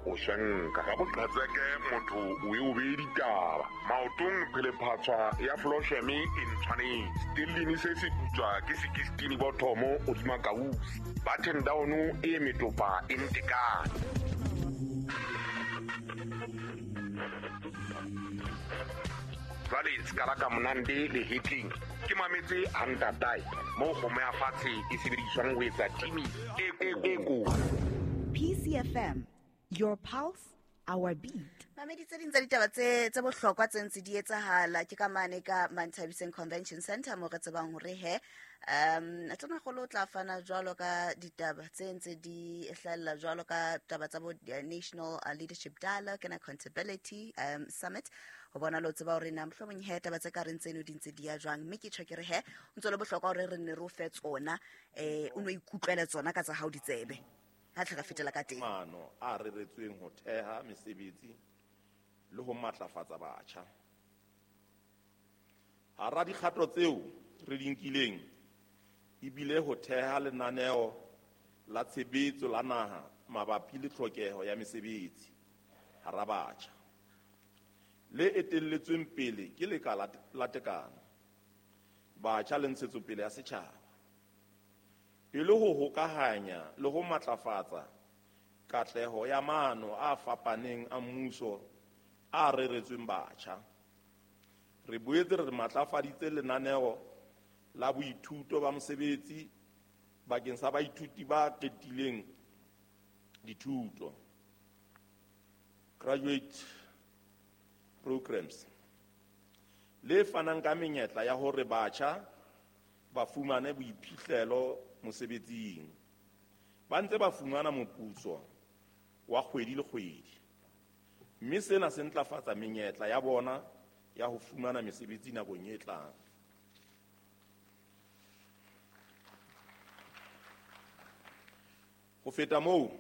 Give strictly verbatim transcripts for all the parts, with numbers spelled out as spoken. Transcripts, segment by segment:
o shenka. Ka boqhetseke motho o e o bee ditaba. Maotong phelephatshwa ya flosheme e ntshwanetse. Stellini se se putswa ke sixteen bothomo hodima kausi. Button down e metopa e ntekane. Jwale ska ka monande le hitling. Ke mametse hantatai mo kgomo ya fatshe e sebediswang ho etsa timi e e ko. P C F M, your pulse, our beat. Mamedi tse ding tsa ditaba tse tse bohlokwa tse ntse di etsahala ke ka mane ka Manthabiseng Convention Center mo re tsebang hore he um Tonakgolo o tla fana jwalo ka ditaba tse ntse di hlahella jwalo ka taba tsa bo National Leadership Dialogue and Accountability um Summit ho bona lo tseba hore na mohlomong he taba tse ka reng tseno di ntse di ya jwang mme ke tjho ke re he o ntse le bohlokwa hore re nne re o fe tsona eh o no ikutlwele tsona ka tsa hao ditsebe ha tle re fetela ka teng. Mano a reretsweng ho theha mesebetsi le ho matlafatsa batjha. Hara dikgato tseo re di nkileng ebile ho theha lenaneo la tshebetso la naha mabapi le tlhokeho ya mesebetsi hara batjha le etelletsweng pele ke lekala la tekano batjha le ntshetsopele ya setjhaba e le ho hokahanya le ho matlafatsa katleho ya maano a fapaneng a mmuso a reretsweng batjha. Re boetse re matlafaditse lenaneo la boithuto ba mosebetsi bakeng sa baithuti ba qetileng dithuto, graduate programs, le fanang ka menyetla ya hore batjha ba fumane boiphihlelo mosebetsing ba ntse ba fumana moputso wa kgwedi le kgwedi, mme sena se ntlafatsa menyetla ya bona ya ho fumana mesebetsi nakong e tlang. Ho feta moo,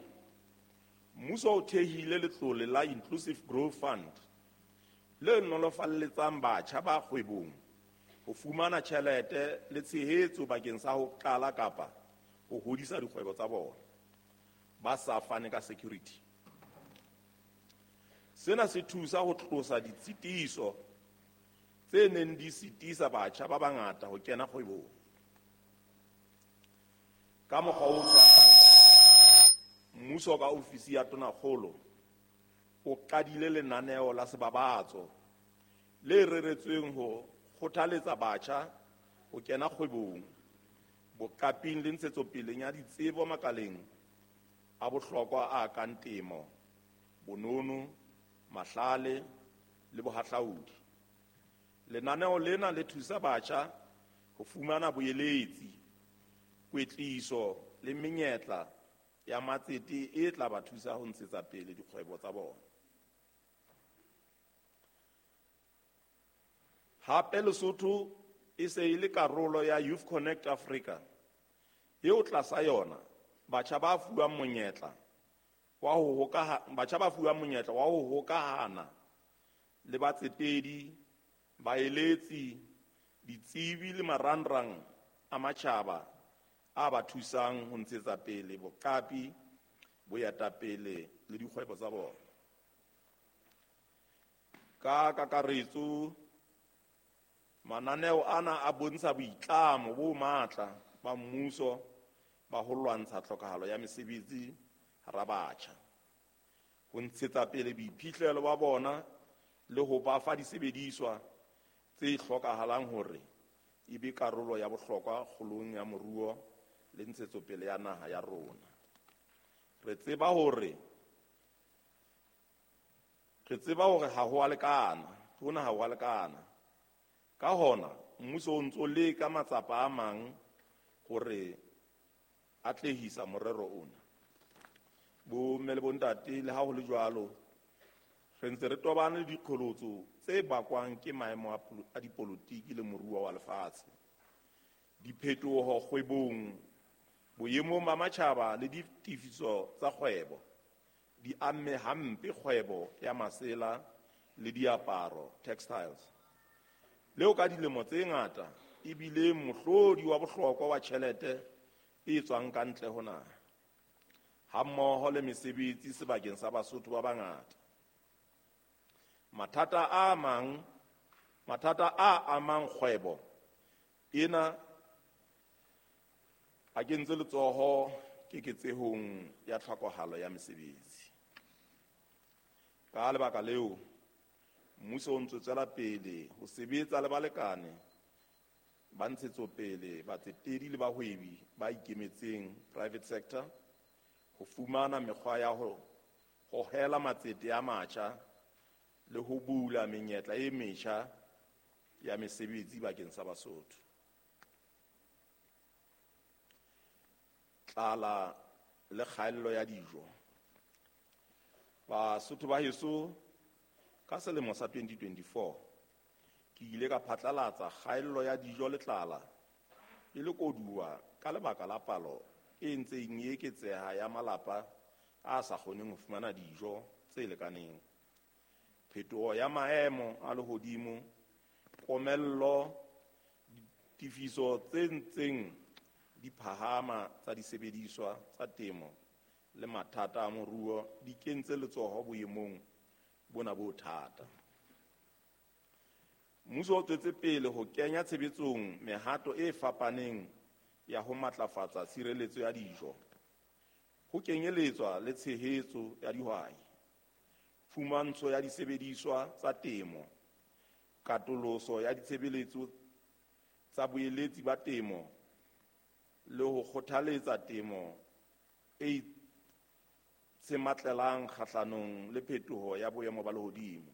mmuso o thehile letlole la Inclusive Growth Fund le nolofalletsang batjha ba kgwebong ho fumana tjhelete le tshehetso bakeng sa ho qala kapa ho hodisa dikgwebo tsa bona ba sa fane ka security. Sena se thusa ho tlosa ditshitiso tse neng di sitisa batjha ba bangata ho kena kgwebong. Ka mokgwa o tshwanang, mmuso ka ofisi ya Tonakgolo o qadile lenaneo la sebabatso le reretsweng ho kgothaletsa batjha ho kena kgwebong, boqaping le ntshetsopeleng ya ditsebo makaleng a bohlokwa a kang temo, bonono, mahlale le bohahlaudi. Lenaneo lena le thusa batjha ho fumana boeletsi, kwetliso le menyetla ya matsete e tla ba thusa ho ntshetsa pele dikgwebo tsa bona. Hape Lesotho e se e le karolo ya Youth Connect Africa eo tlasa yona batjha ba fuwang monyetla wa ho hokaha batjha ba fuwang monyetla wa ho hokahana le batsetedi, baeletsi, ditsebi le marangrang a matjhaba a ba thusang ho ntshetsa pele boqapi, boetapele le dikgwebo tsa bona. Ka kakaretso, mananeo ana a bontsha boitlamo bo matla ba mmuso ba ho lwantsha tlhokahalo ya mesebetsi hara batjha, ho ntshetsa pele boiphihlelo ba bona le ho ba fa disebediswa tse hlokahalang hore e be karolo ya bohlokwa kgolong ya moruo le ntshetsopele ya naha ya rona. Re tseba hore re tseba hore ha ho a lekana, hona ha ho a lekana. Ka hona mmuso o ntso leka matsapa a mang hore atlehisa morero ona. Bo mme le bontate, le ha ho le jwalo, re ntse re tobane le diqholotso tse bakwang ke maemo a dipolotiki le moruo wa lefatshe, diphetoho kgwebong, boemong ba matjhaba le ditefiso tsa kgwebo di amme hampe kgwebo ya masela le diaparo, textiles, leo ka dilemo tse ngata e bile mohlodi wa bohlokwa wa tjhelete e tswang ka ntle ho naha. hammoho le mesebetsi sebakeng sa Basotho ba bangata. Mathata a mang, mathata a amang kgwebo ena a kentse letsoho keketsehong ya tlhokahalo ya mesebetsi. Ka lebaka leo, mmuso o ntse tswela pele ho sebetsa le balekane ba ntshetsopele, batsetedi le bahwebi ba ikemetseng private sector ho fumana mekgwa ya ho hohela matsete a matjha le ho bula menyetla e metjha ya mesebetsi bakeng sa Basotho. Tlala le kgaello ya dijo. Basotho ba heso, ka selemo sa twenty twenty-four ke ile ka phatlalatsa kgaello ya dijo le tlala e le koduwa ka lebaka la palo e ntseng e eketseha ya malapa a sa kgoneng ho fumana dijo tse lekaneng. Phetoho ya maemo a lehodimo, komello, ditefiso tse ntseng di phahama tsa disebediswa tsa temo le mathata a moruo di kentse letsoho boemong bona bo thata. Mmuso o tswetse pele ho kenya tshebetsong mehato e fapaneng ya ho matlafatsa tshireletso ya dijo, ho kenyeletswa le tshehetso ya dihwai, phumantsho ya disebediswa tsa temo, katoloso ya ditshebeletso tsa boeletsi ba temo le ho kgothaletsa temo e itshematlelang kgahlanong le phetoho ya boemo ba lehodimo.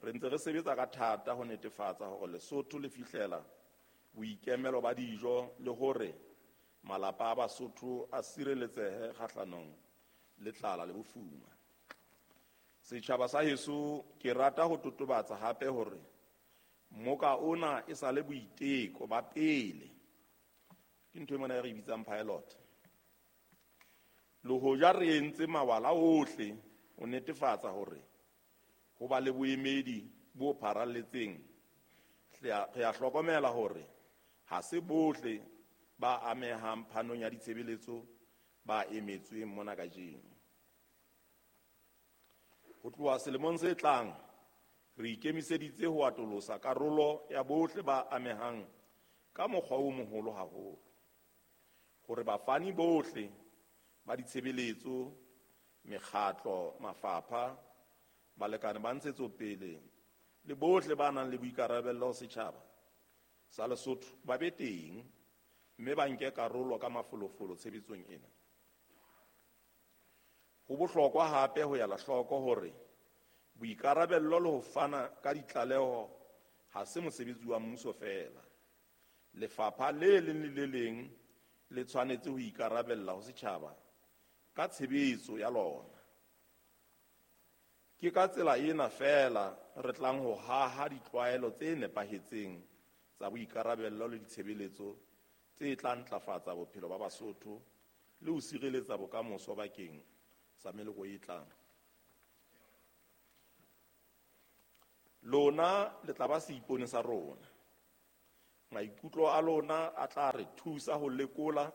Re ntse re sebetsa ka thata ho netefatsa hore Lesotho le fihlela boikemelo ba dijo le hore malapa a Basotho a sireletsehe kgahlanong le tlala le bofuma. Setjhaba sa heso, ke rata ho totobatsa hape hore moka ona e sa le boiteko ba pele. Ke ntho e mona e re bitsang pilot. Le hoja re entse mawala ohle ho netefatsa hore ho ba le boemedi bo pharalletseng, re a hlokomela hore ha se bohle ba amehang phanong ya ditshebeletso ba emetsweng mona kajeno. Ho tloha selemong se tlang, re ikemiseditse ho atolosa karolo ya bohle ba amehang ka mokgwa o moholo haholo, hore bafani bohle ba ditshebeletso, mekgatlo, mafapha, balekane ba ntshetsopele le bohle ba nang le boikarabello ho setjhaba sa Lesotho ba be teng mme ba nke karolo ka mafolofolo tshebetsong ena. Ho bohlokwa hape ho ela hloko hore boikarabello le ho fana ka ditlaleho ha se mosebetsi wa mmuso feela. Lefapha le leng le le leng le tshwanetse ho ikarabella ho setjhaba ka tshebetso ya lona. Ke ka tsela ena feela re tlang ho haha ditlwaelo tse nepahetseng tsa boikarabello le ditshebeletso tse tla ntlafatsa bophelo ba Basotho le ho sireletsa bokamoso bakeng sa meloko e tlang. Lona le tla ba seipone sa rona. Maikutlo a lona a tla re thusa ho lekola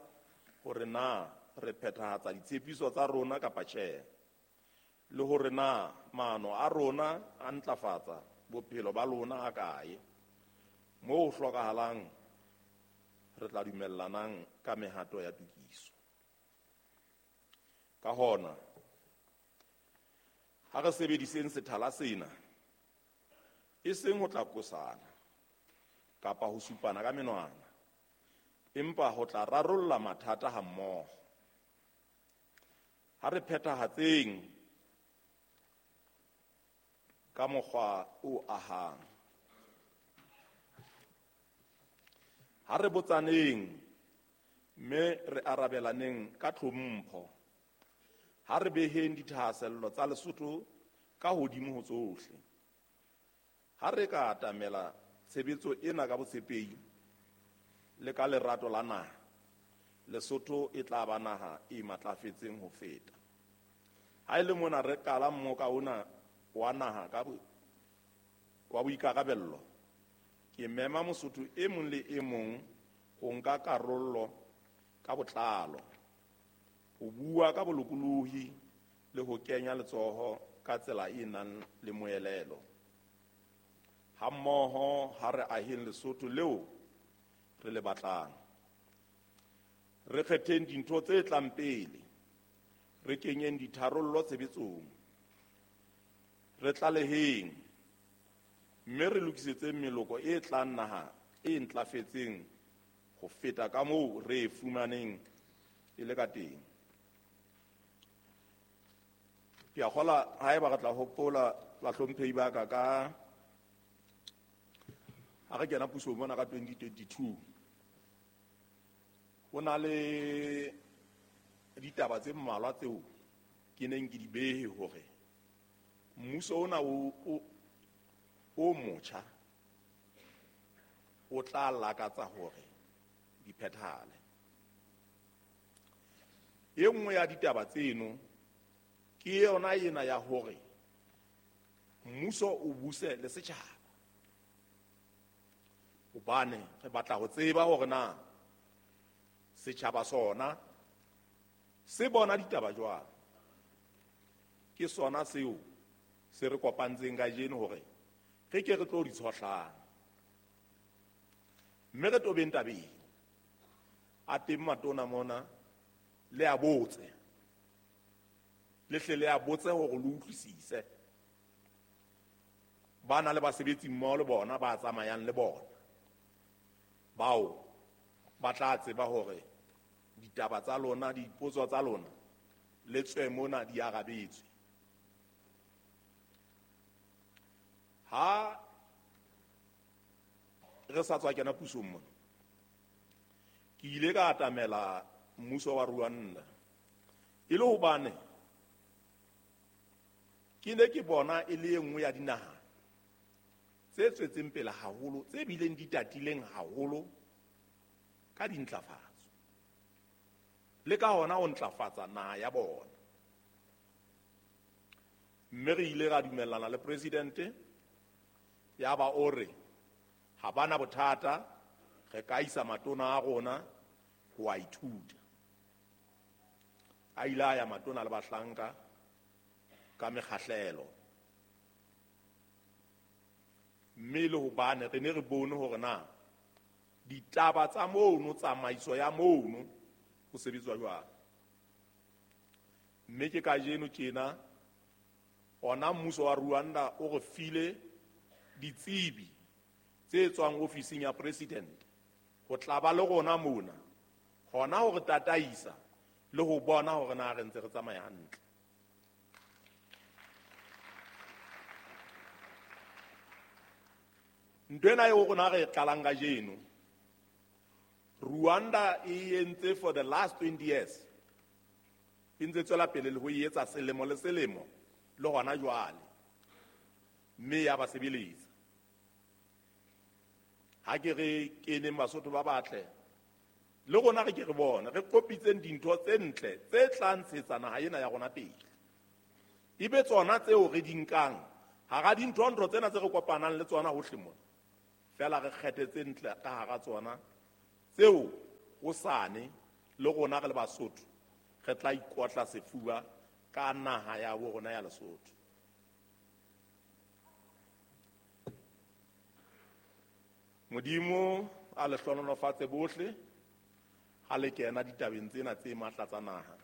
hore na re phethahatsa ditshepiso tsa rona kapa tjhe, le hore na maano a rona a ntlafatsa bophelo ba lona ha kae. Moo ho hlokahalang re tla dumellanang ka mehato ya tokiso. Ka hona, ha re sebediseng sethala sena e seng ho tla kosana kapa ho supana ka menwana, empa ho tla rarolla mathata hammoho. Ha re phethahatseng ka mokgwa o ahang. Ha re botsaneng mme re arabelaneng ka tlhompho. Ha re beheng dithahasello tsa Lesotho ka hodimo ho tsohle. Ha re ka atamela tshebetso ena ka botshepehi le ka lerato la naha, Lesotho e tla ba naha e matlafetseng ho feta. Ha e le mona re qala mmoka ona wa naha ka wa boikarabello, ke mema Mosotho e mong le e mong ho nka karolo ka botlalo, ho ho bua ka bolokolohi le ho kenya letsoho ka tsela e nang le moelelo. Hammoho ha re aheng Lesotho leo re le batlang. Re kgetheng dintho tse tlang pele, re kenyeng ditharollo tshebetsong, re tlaleheng mme re lokisetseng meloko e tlang naha e ntlafetseng ho feta ka moo re e fumaneng e le ka teng. Ke a kgolwa haeba re tla hopola bahlomphehi ba ka ka ha re kena pusong mona ka twenty twenty-two, ho na le ditaba tse mmalwa tseo ke neng ke di behe hore mmuso ona o, o, o motjha o tla lakatsa hore di phethahale. E nngwe ya ditaba tseno ke yona ena ya hore mmuso o buse le setjhaba, hobane re batla ho tseba hore na setjhaba sona se bona ditaba jwang. Ke sona seo se re kopantseng kajeno hore re ke re tlo di tshohlang, mme re tobeng tabeng. A teng matona mona, le a botse, le hle le a botse hore le utlwisise. Ba na le basebetsi mmoho le bona ba tsamayang le bona, bao ba tla tseba hore ditaba tsa lona, dipotso tsa lona le tswe mona di arabetswe. Ha re sa tswa kena pusong mona, ke ile ka atamela mmuso wa Rwanda e le hobane ke ne ke bona e le e nngwe ya dinaha tse tswetseng pele haholo, tse bileng di tatileng haholo ka dintlafatso, le ka hona ho ntlafatsa naha ya bona. Mme re ile ra dumellana le presidente, ya ba o re ha bana bothata, re ka isa matona a rona ho a ithuta. A ile a ya matona le bahlanka ka mekgahlelo, mme le hobane re ne re bone hore na ditaba tsa mono, tsamaiso ya mono ho sebetswa jwang. Mme ke kajeno tjena ona mmuso wa Rwanda o re file ditsebi tse tswang ofising ya president ho tla ba le rona mona, hona ho re tataisa le ho bona hore na re ntse re tsamaya hantle. Ntho ena eo rona re e qalang kajeno, Rwanda e entse for the last twenty years, e ntse tswela pele le ho e etsa selemo le selemo le hona jwale, mme ya ba sebeletsa. Ha ke re keneng Basotho ba batle, le rona re ke re bone re kopitseng dintho tse ntle tse tla ntshetsa naha ena ya rona pele, ebe tsona tseo re di nkang hara dintho-ntho tsena tse re kopanang le tsona hohle mona, fela re kgethe tse ntle ka hara tsona tseo hosane le rona re le Basotho re tla ikotla sefuba ka naha ya bo rona ya Lesotho. Modimo a le hlohonolofatse bohle ha le kena ditabeng tsena tse matla tsa naha.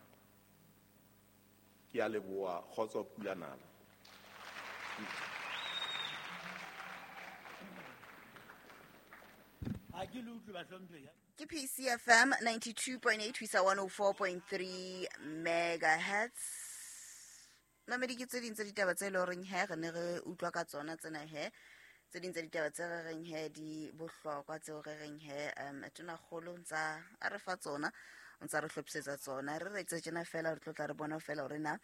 Ke a leboha, kgotso pula nala. Ke P C F M ninety-two point eight ho isa one oh four point three megahertz. Mamedi, ke tse ding tsa ditaba tse leng horeng he re ne re utlwa ka tsona tsena he, tse ding tsa ditaba tse re reng he di bohlokwa tseo re reng he um tonakgolo ntsa a re fa tsona, o ntsa re hlophisetsa tsona. Re re tse tjena fela, re tlo tla re bona fela hore na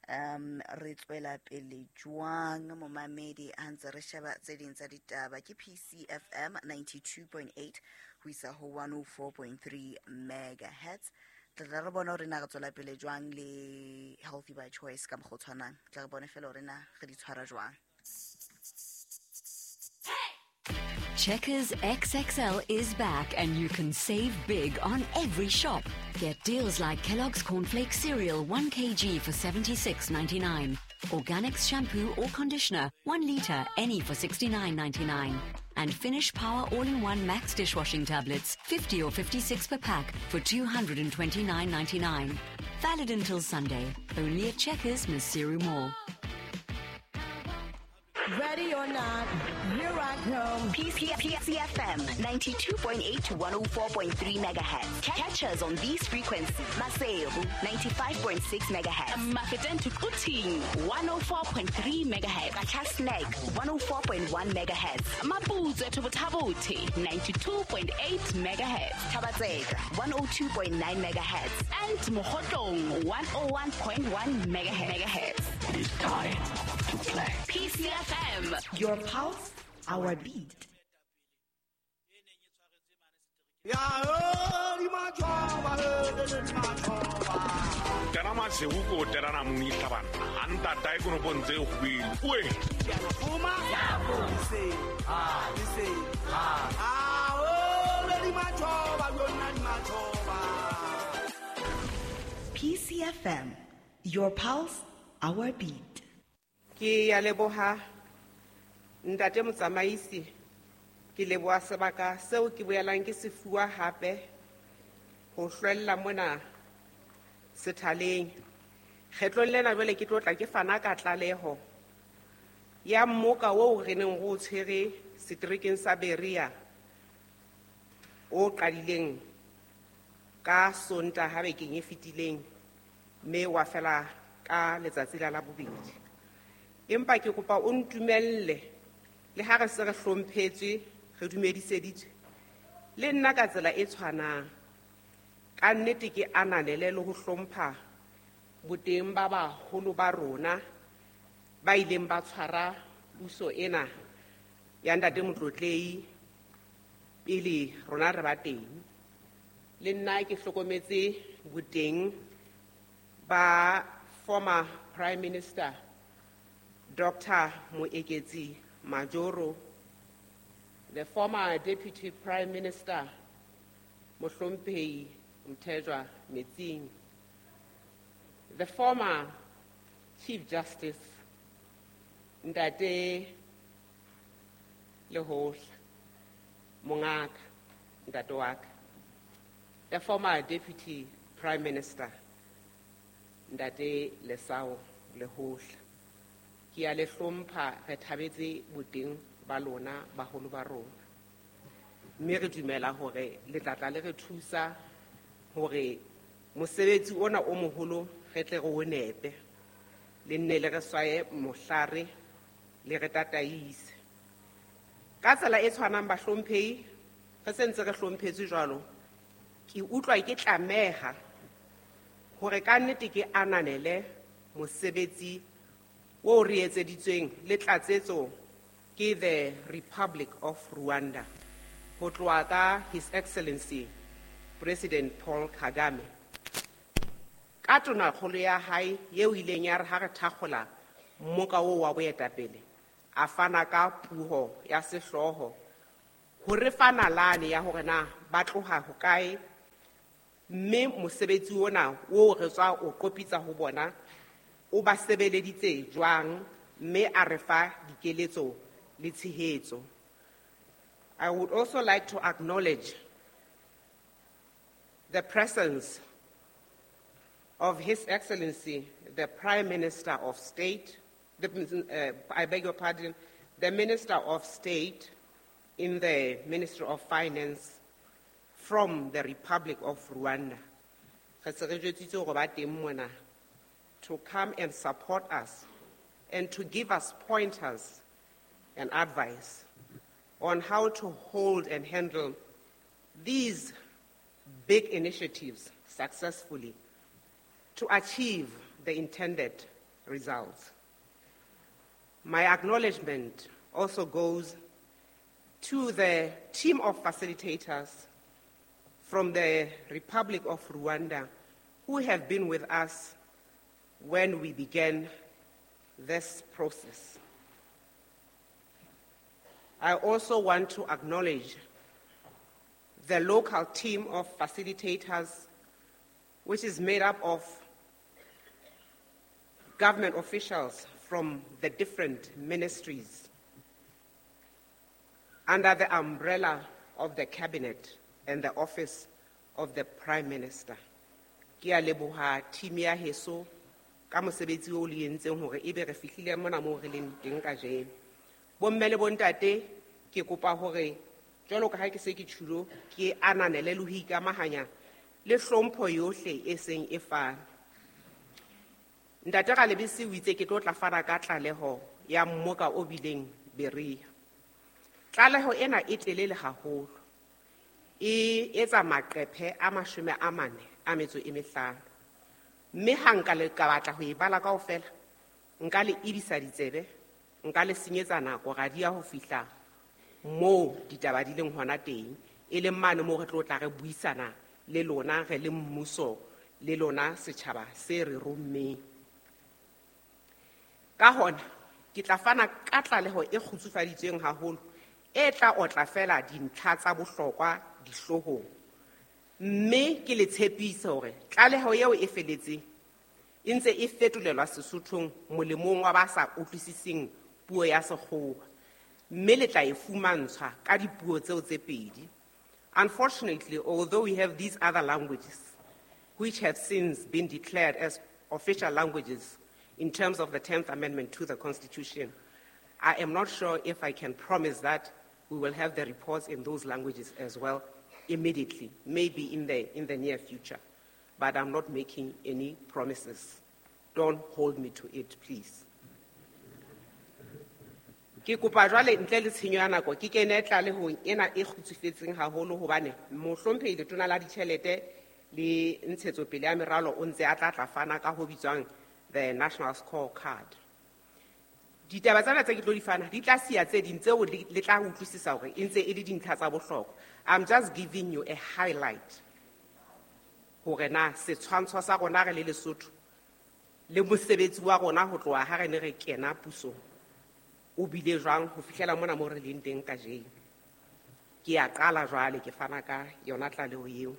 um re tswela pele jwang momamedi ha ntse re sheba tse ding tsa ditaba. Ke P C F M ninety-two point eight ho isa ho one oh four point three megahertz. Tla re bona hore na re tswela pele jwang le Healthy by Choice ka mokgwa o tshwanang. Tla re bone fela hore na re di tshwara jwang. Checkers X X L is back and you can save big on every shop. Get deals like Kellogg's Cornflakes Cereal one kilogram for seventy-six ninety-nine. Organics shampoo or conditioner, one litre, any for sixty-nine ninety-nine. And Finish Power All-in-One Max dishwashing tablets, fifty or fifty-six per pack for two hundred and twenty-nine ninety-nine. Valid until Sunday. Only at Checkers, Maseru Mall. Ready or not, here I come. P C F M ninety-two point eight to one oh four point three megahertz. Catch us on these frequencies. Maseru ninety-five point six megahertz. Mafeteng to Quthing one oh four point three megahertz. Qacha's Nek one oh four point one megahertz. Maputswe to Botha-Bothe ninety-two point eight megahertz. Thaba-Tseka one oh two point nine megahertz. And Mokhotlong one oh one point one megahertz. It is time to play. P C F M. Your pulse, our beat. Tena maseu ko tena na muni tlabana. Anta tai kono pontse go we. P C F M, your pulse, our beat. Ke ya leboha ntate motsamaisi, ke leboha sebaka seo ke boelang ke se fuwa hape ho hlwella mona sethaleng. Kgetlong lena jwale ke tlo tla ke fana ka tlaleho ya mmoka oo re neng re o tshwere seterekeng sa Berea o qadileng ka Sontaha bekeng e fetileng mme wa fela ka letsatsi la Labobedi. Empa ke kopa o ntumelle le ha re se re hlomphetswe, re dumediseditswe le nna ka tsela e tshwanang. Ka nnete ke ananele le ho hlompha boteng ba baholo ba rona ba ileng ba tshwara puso ena ya ntate Motlotlei pele rona re ba teng. Le nna ke hlokometse boteng ba former Prime Minister Doctor Moeketsi Majoro, the former Deputy Prime Minister Mohlomphehi Mthethwa Metsing, the former Chief Justice Ntate Lehohla Mongaka Ntate waka, the former Deputy Prime Minister Ntate Lesao Lehohla. Ke a le hlompha, re thabetse boteng ba lona baholo ba rona. Mme re dumela hore le tla tla le re thusa hore mosebetsi ona o moholo re tle re o nepe. Le nne le re swaye mohlare le re tataise. Ka tsela e tshwanang bahlomphehi, re sentse re hlomphetswe jwalo, ke utlwa ke tlameha hore ka nnete ke ananele mosebetsi o re etseditsweng le tlatsetso ke the Republic of Rwanda ho tloha ka His Excellency President Paul Kagame ka tonakgolo ya hae eo ileng ya re ha re thakgola mmoka oo wa boetapele a fana ka puo ya sehlooho ho re fa nalane ya hore na ba tloha hokae mme mosebetsi ona oo re tswa o qopitsa ho bona o ba sebeleditse jwang mme a re fa dikeletso le tshehetso. I would also like to acknowledge the presence of His Excellency, the Prime Minister of State, the, uh, I beg your pardon, the Minister of State in the Ministry of Finance from the Republic of Rwanda. Re se re jwetsitse hore ba teng mona to come and support us and to give us pointers and advice on how to hold and handle these big initiatives successfully to achieve the intended results. My acknowledgement also goes to the team of facilitators from the Republic of Rwanda who have been with us when we began this process. I also want to acknowledge the local team of facilitators which is made up of government officials from the different ministries under the umbrella of the cabinet and the office of the Prime Minister. Ke a leboha team ya heso ka mosebetsi o le entseng hore ebe re fihlile mona moo re leng teng kajeno. Bomme le bontate, ke kopa hore jwalo ka ha ke se ke tjhulo, ke ananele le ho ikamahanya le hlompho yohle e seng e fana. Ntate Ralebese o itse ke tlo tla fana ka tlaleho ya mmoka o bileng Berea. Tlaleho ena e telele haholo. E etsa maqephe a mashome a mane a metso e mehlano. Mme ha nka le ka batla ho e bala kaofela, nka le ebisa ditsebe, nka le senyetsa nako ra di ya ho fihla moo ditaba di leng hona teng, e leng mane moo re tlo tla re buisana le lona re le mmuso le lona setjhaba se re rommeng. Ka hona ke tla fana ka tlaleho e kgutsufaditsweng haholo e tla otla fela dintlha tsa bohlokwa dihloohong. Mme ke le tshepise hore tlaleho eo e feletseng e ntse e fetolelwa Sesothong molemong wa ba sa utlwisiseng puo ya Sekgowa, mme le tla e fumantshwa ka dipuo tseo tse pedi. Unfortunately, although we have these other languages, which have since been declared as official languages in terms of the tenth Amendment to the Constitution, I am not sure if I can promise that we will have the reports in those languages as well immediately, maybe in the, in the near future. But I'm not making any promises. Don't hold me to it, please. Ke kopa jwale ntle le tshenyo ya nako ke kene tlalehong ena e kgutsufetseng haholo hobane mohlomphehi letona la ditjhelete le ntshetsopele ya meralo o ntse a tla tla fana ka ho bitswang the National Scorecard. Ditaba tsena tse ke tlo di fana di tla siya tse ding tseo le tla utlwisisa hore e ntse e le dintlha tsa bohlokwa. I'm just giving you a highlight hore na setshwantsho sa rona re le Lesotho le mosebetsi wa rona ho tloha ha re ne re kena pusong o bile jwang ho fihlela mona mo re leng teng kajeno. Ke a qala jwale ke fana ka yona tlaleho eo.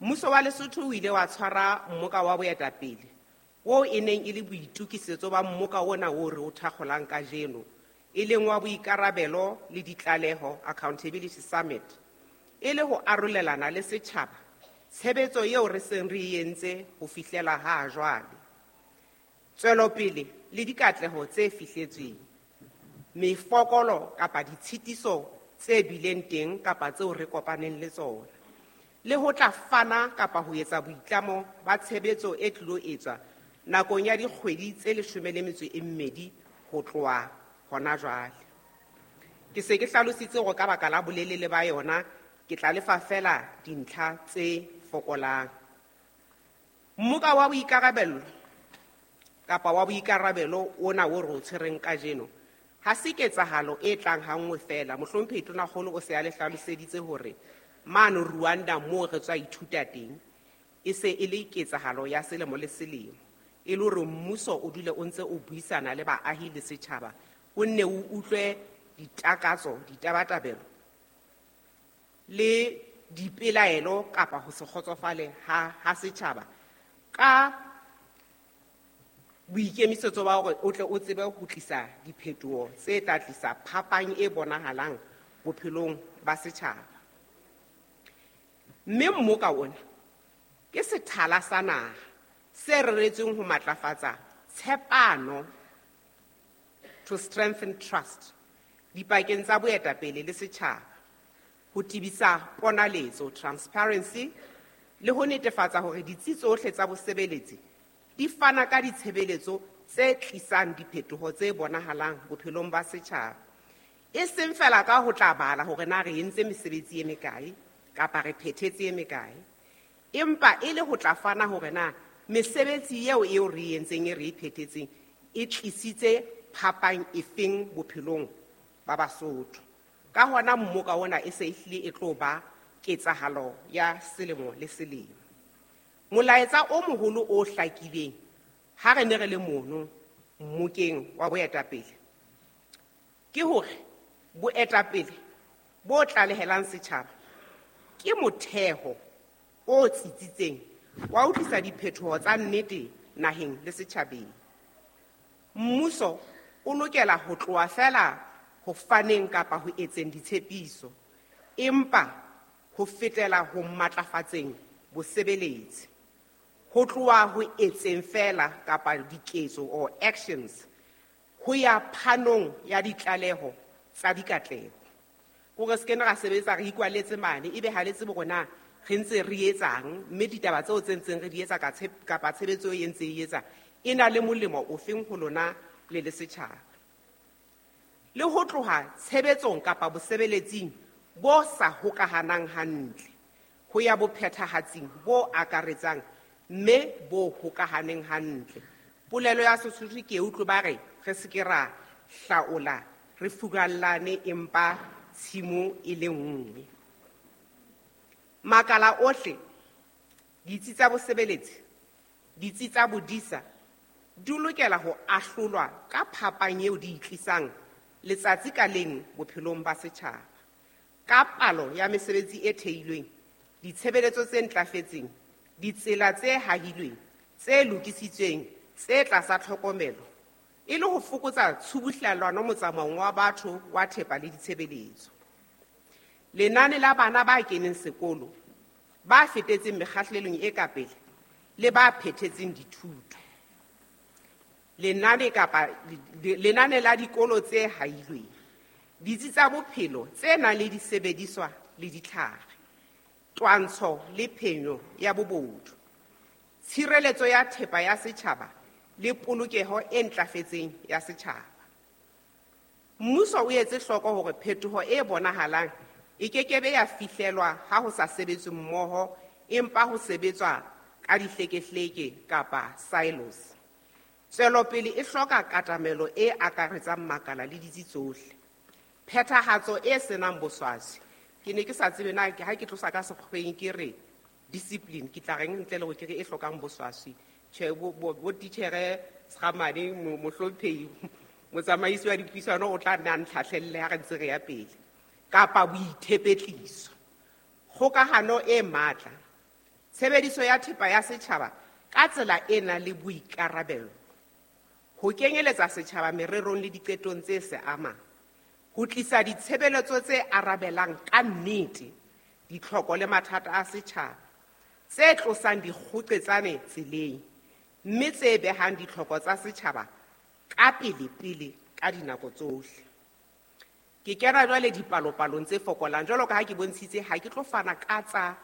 Mmuso wa Lesotho o ile wa tshwara mmoka wa boetapele oo e neng e le boitokisetso ba mmoka ona o re o thakgolang kajeno, e leng wa boikarabelo le ditlaleho Accountability Summit, e le ho arolelana le setjhaba tshebetso eo re seng re e entse ho fihlela ha jwale, tswelopele le dikatleho tse fihletsweng, mefokolo kapa ditshitiso tse bileng teng kapa tseo re kopaneng le tsona, le ho tla fana kapa ho etsa boitlamo ba tshebetso e tlilo etswa nakong ya dikgwedi tse leshome le metso e mmedi ho tloha hona jwale. Ke se ke hlalositse hore ka baka la bolelele ba yona ke tla lefa fela dintlha tse fokolang. Mmoka wa boikarabelo kapa wa boikarabelo ona o re o tshwereng kajeno ha se ketsahalo e tlang hanngwe fela. Mohlomphehi Tonakgolo o se a le hlaloseditse hore mane Rwanda moo re tswa ithuta teng e se e le ketsahalo ya selemo le selemo, e le hore mmuso o dule o ntse o buisana le baahi le setjhaba, o nne o utlwe ditakatso, ditabatabelo le dipelaelo kapa ho se kgotsofale ha, ha setjhaba ka boikemisetso ba hore o tle o tsebe ho tlisa diphetoho tse tla tlisa phapang e bonahalang bophelong ba setjhaba. Mme mmoka ona ke sethala sa naha se reretsweng ho matlafatsa tshepano, to strengthen trust, dipakeng tsa boetapele le setjhaba, ho tebisa ponaletso, transparency, le ho netefatsa hore ditsi tsohle tsa bosebeletsi di fana ka ditshebeletso tse tlisang diphetoho tse bonahalang bophelong ba setjhaba, e seng fela ka ho tla bala hore na re entse mesebetsi e mekae kapa re phethetse e mekae, empa e le ho tla fana hore na mesebetsi eo eo re entseng e re e phethetseng e tlisitse phapang efeng bophelong ba Basotho. Ka hona mmoka ona e se e hlile e tlo ba ketsahalo ya selemo le selemo. Molaetsa o moholo o hlakileng ha re ne re le mono mmokeng wa boetapele ke hore boetapele bo tlalehelang setjhaba ke motheo o tsitsitseng wa ho tlisa diphetoho tsa nnete naheng le setjhabeng. Mmuso o lokela ho tloha feela ho faneng kapa ho etseng ditshepiso, empa ho fetela ho matlafatseng bosebeletsi. Ho tloha ho etseng feela kapa diketso or actions ho ya phanong ya ditlaleho tsa dikatleho. Hore se ke ra sebetsa re ikwaletse mane ebe ha le tsebe hore na re ntse re etsang, mme ditaba tseo tse ntseng re di etsa ka kapa tshebetso e ntse e etsa e na le molemo ofeng ho lona le le setjhaba. Le ho tloha tshebetsong kapa bosebeletsing bo sa hokahanang hantle ho ya bophethahatsing bo akaretsang mme bo hokahaneng hantle. Polelo ya Sesotho ke utlwe ba re re se ke ra hlaola re furallane empa tshimo e le nngwe. Makala ohle, ditsi tsa bosebeletsi, ditsi tsa bodisa di lokela ho ahlolwa ka phapang eo di itlisang letsatsi ka leng bophelong ba setjhaba, ka palo ya mesebetsi e theilweng, ditshebeletso tse ntlafetseng, ditsela tse hahilweng, tse lokisitsweng, tse tlasa tlhokomelo, e le ho fokotsa tshubuhlellano motsamaong wa batho wa thepa le ditshebeletso. Lenane la bana ba keneng sekolo, ba fetetseng mekgahlelong e ka pele le ba phethetseng dithuto. Lenane kapa lenane la dikolo tse hailweng, ditsi tsa bophelo tse nang le disebediswa le ditlhare, twantsho le phenyo ya bobodu, tshireletso ya thepa ya setjhaba le polokeho e ntlafetseng ya setjhaba. Mmuso o etse hloko hore phetoho e bonahalang e kekebe ya fihlelwa ha ho sa sebetswe mmoho, empa ho sebetswa ka dihlekehleke kapa silos. Tswelopele e hloka katamelo e akaretsang makala le ditsi tsohle. Phethahatso e senang boswaswi. Ke ne ke sa tsebe na ha ke tlosa ka sekgweng ke re discipline, ke tla reng ntle le hore ke re e hlokang boswaswi. Tjhe, bo bo titjhere Sgamane mohlomphehi motsamaisi wa dipuisano o tla nna a ntlhahlelle ha re ntse re ya pele. Kapa boithepetliso. Kgokahano e matla. Tshebediso ya thepa ya setjhaba ka tsela e nang le boikarabelo. Ho kenyeletsa setjhaba mererong le diqetong tse se amang. Ho tlisa ditshebeletso tse arabelang ka nnete ditlhoko le mathata a setjhaba, tse tlosang dikgoqetsane tseleng, mme tse behang ditlhoko tsa setjhaba ka pele-pele ka dinako tsohle. Ke kena jwale dipalopalong tse fokolang, jwalo ka ha ke bontshitse ha ke tlo fana ka tsa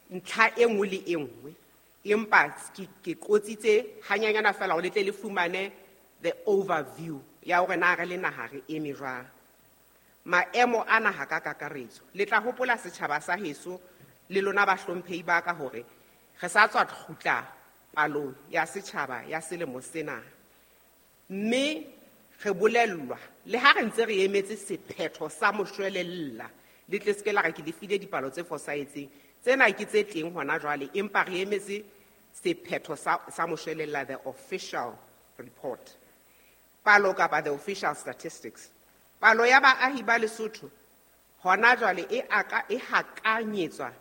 ntlha e nngwe le e nngwe, empa ke qotsitse hanyanyana feela hore le tle le fumane the overview ya hore na re le naha re eme jwang. Maemo a naha ka kakaretso. Le tla hopola setjhaba sa heso le lona bahlomphehi ba ka hore re sa tswa kgutla palong ya setjhaba ya selemo sena, mme re bolellwa le ha re ntse re emetse sephetho sa moshwelella, le tle se ke la re ke le file dipalo tse fosahetseng. Tsena ke tse teng hona jwale, empa re emetse sephetho sa, sa moshwelella, the official report. Palo kapa the official statistics. Palo ya baahi ba Lesotho hona jwale e aka e hakanyetswa